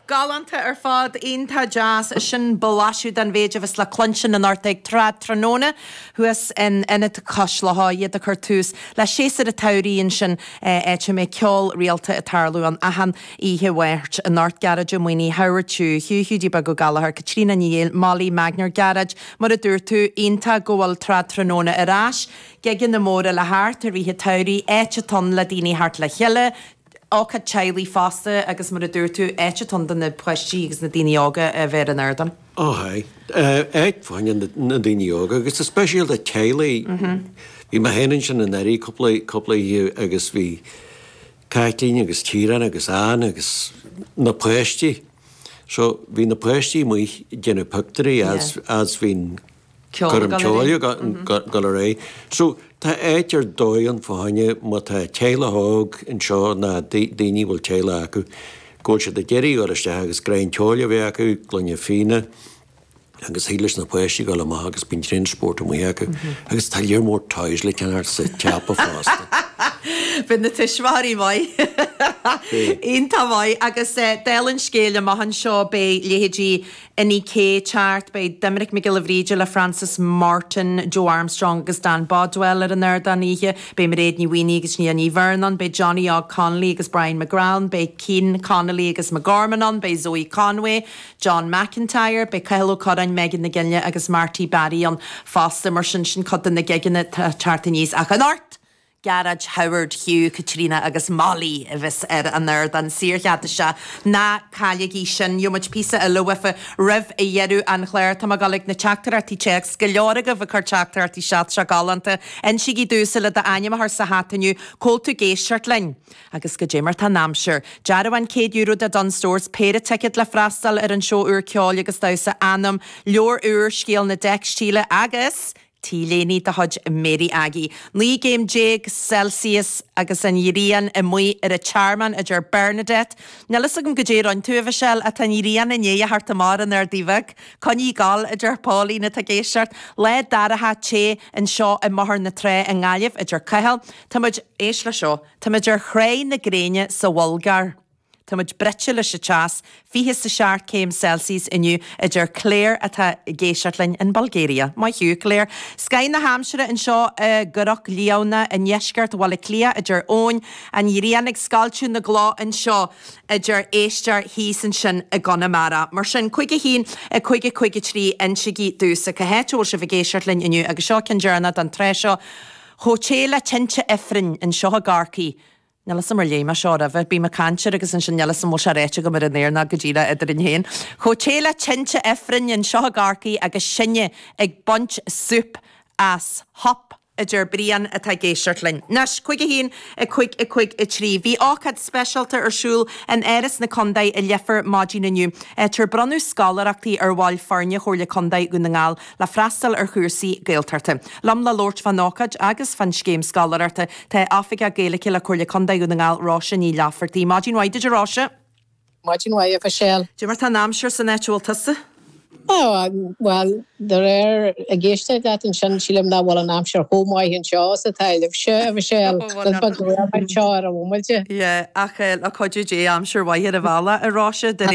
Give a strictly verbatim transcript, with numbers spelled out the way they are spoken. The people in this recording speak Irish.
Galánta ar fad iontach deas sin blaiseadh den mhéid a bheas le cluinstin anocht ag Trad Tráthnóna thuas in Ionad Cois Locha iad ag cur tús le séasúr an tsamhraidh ansin áit a mbeidh ceol rialta ag tarlú ann achan oíche Mháirt anocht Gearóid Ó Maonaigh Howard Hugh Hugh Hiúdaí Beag Ó Gallchóir Caitríona Ní Éil Molly Magner Gearóid mar a dúirt tú iontach go bhfuil Trad Tráthnóna ar ais gigeanna móra le theacht i rith an tsamhraidh áit atá ann le daoine theacht le chéile ócáid teaghlaigh fosta agus mar a dúirt tú áit atá ann do na páistí agus na daoine óga a bheith ar an ardán. Ó áit fá choinne na daoine óga agus is speisialta teaghlaigh. Bhí mé féin ansin anuraidh cúpla cúpla oíche agus bhí Caitlín agus Ciarán agus Ann agus na páistí. So bhí na páistí amuigh déanamh pictiúirí as as bhí'n Curim ceoil go le ré. So tá áit ar dóigh ann fá choinne má tá teaghlach óg anseo ná daoine bhfuil teaghlach acu, go bhfuil siad ag iarraidh dul isteach agus greim ceoil a bheith acu, gloine fíona, agus thig leis na páistí dul amach agus bíonn tréan spórt amuigh acu agus tá lear mór toys le ceannacht sa tsiopa fosta. Bhí na tuismitheoirí maith. Iontach maith agus dála an scéil amach anseo beidh leithéidí Inni K ag teacht, beidh Doiminic Mac Giolla Bhríde le Francis Martin, Joe Armstrong agus Dan Bodwell ar an ardán oíche, beidh Mairéad Ní Mhaonaigh agus Nia Ní Bheirn beidh Johnny Og Connolly agus Brian McGrath, beidh Cian Connolly agus McGorman ann, beidh Zoe Conway, John McIntyre, beidh Cathal Ó Curráin, Megan Nic Gile agus Marty Barry ann fosta mar sin sin cuid de na gigeanna teacht aníos ach anocht. Gearóid Howard Hugh Caitríona agus Molly a bheas ar an ardán saorchead isteach ná cailligí sin Gheobhaidh muid píosa eile uafa roimh a dheireadh an chláir Tá ag na teachtaireachtaí téacs go leor agaibh ag cur teachtaireachtaí isteach seo galánta Insígí domhsa le d'ainm a chur sa hata inniu cá bhfuil tú ag éisteacht linn. agus goidé mar tá an aimsir. Dearbhán céad euro de Dunnes Stores péire ticéad le freastal ar an seó úr ceoil agus damhsa anam, leabhar úr scéal na dteicstíle agus T-léine de chuid Mary Aggie. Naoi gcéim déag Celsius agus an ghrian amuigh ar an Tearmann a deir Bernadette. Níl a fhios agam goidé a rinne tú a Mhichelle atá an ghrian i ndiaidh a theacht amach ar an Ardaí Bheag. Coinnigh ag gabháil a deir Pauline atá ag éisteacht. Lá dorcha te anseo i mBóthar na Trá i nGaillimh a deir Cathal. Tá muid éist le seo, Tá muid ar chré na gréine sa Bhulgáir. Tá muid bruite leis an teas, fiche is a seacht céim Celsius inniu a deir Claire atá ag éisteacht linn in Bulgaria. Maith thú Claire. Scoth na haimsire anseo i gCnoc Liamhna i ndeisceart Bhaile Átha Cliath a deir Eoin, an ghrian ag scoilteadh na gcloch anseo a deir éisteoir thíos ansin i gConamara. Mar sin cúig a haon a cúig a cúig a trí insígí domhsa cá háit a bhfuil sibh ag éisteacht linn inniu agus seo ceann deireanach don tráth seo. Chomh te le tinte ifrinn anseo i gCorcaigh. Níl a fhios agam ar léigh mé seo roimhe, bím ag caint air agus ansin níl a fhios agam bhfuil sé ráite agam ar an aer ná go díreach eadrainn féin. Chomh te le tinte ifrinn anseo i gCorcaigh agus sinne ag baint súp as hop a deir Brian atá ag éisteacht linn. Anois, cúig a haon, a cúig, a cúig, a trí. Bhí ócáid speisialta ar siúl in Áras na Contae i Leifear maidin inniu. Áit ar bronnadh scoláireachtaí ar bhaill foirne Chomhairle Contae Dhún na nGall le freastal ar chúrsaí Gaeltachta. Liom le labhairt fán ócáid agus fán scéim scoláireachta tá Oifigeach Gaeilge le Comhairle Contae Dhún na nGall Róise Ní Laifeartaigh. Maidin mhaith duit a Róise. Maidin mhaith a Mhichelle. Goidé mar tá an aimsir san áit a bhfuil tusa? Oh, well, de réir ag éisteacht leat ansin sílim nach bhfuil an aimsir chomh maith anseo is atá libhse a Mhichelle. Anseo ar an bhomaite. Yeah, ach le cuidiú Dé aimsir mhaith ar an bhealach a Róise de réir